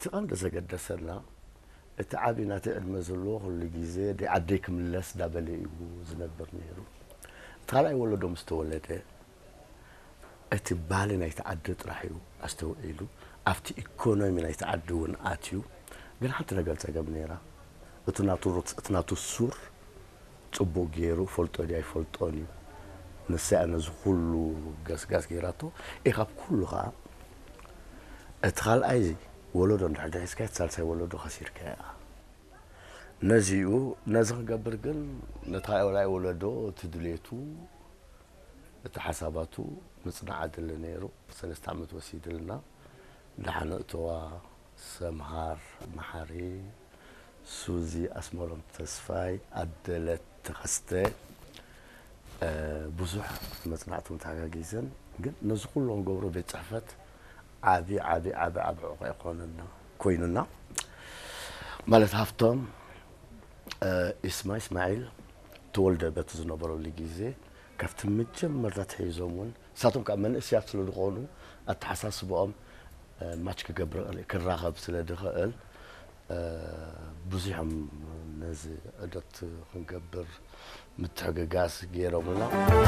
እቲ ቀንዲ ዘገደሰና፣ እቲ ዓብዪ ናተይ ዕድመ ዘለዎ ኩሉ ግዜ ደይ ዓደይ ክምለስ ዳበለ እዩ ዝነብር ነይሩ። እቲ ካልኣይ ወለዶ ምስ ተወለደ፣ እቲ ባህሊ ናይቲ ዓዲ ጥራሕ እዩ ኣስተውዒሉ፣ ኣብቲ ኢኮኖሚ ናይቲ ዓዲ እውን ኣትዩ። ግን ሓንቲ ነገር ጸገም ነይራ። እቲ ናቱ ሩት፣ እቲ ናቱ ሱር ጽቡቕ ገይሩ ፈልጦ ድያ ኣይፈልጦን እዩ። ንሳ እያ ነዚ ኩሉ ገስጋስ ገይራቶ። እ፣ ካብ ኩሉ ኸዓ እቲ ካልኣይ ወለዶ እንድሕር ደሒስካ፣ እቲ ሳልሳይ ወለዶ ከሲርካ እያ። ነዚኡ፣ ነዚ ክገብር ግን ነቲ ካልኣይ ወለዶ እቲ ድሌቱ፣ እቲ ሓሳባቱ ምጽናዕ ኣድሊ ነይሩ። ሰለስተ ዓመት ወሲድልና። ደሓን እተዋ፣ ሰምሃር መሓሪ፣ ሱዚ ኣስመሮም ተስፋይ፣ ኣደለት ተኸስተ፣ እ፣ ብዙሕ መጽናዕቶም ተሓጋጊዘን። ግን ነዚ ኩሉ ክንገብሮ ቤት ጽሕፈት ዓቢ፣ ዓቢ፣ ዓቢ፣ ዓቢ ዕቑ ኣይኮነና፣ ኮይኑና። ማለት ሃፍቶም፣ እ፣ ኢስማ ኢስማዒል ተወልደ በቲ ዝነበረሉ ግዜ፣ ካብቲ መጀመርታ ኣትሒዞም እውን፣ ንሳቶም ከዓ መንእሰያት ስለ ዝኾኑ፣ ኣተሓሳስባኦም፣ እ፣ ማች ክገብር ይኽእል፣ ክራኸብ ስለ ዝኽእል፣ እ፣ ብዙሕ እዮም ነዚ ዑደት ክንገብር ምትሕግጋዝ ገይሮምልና።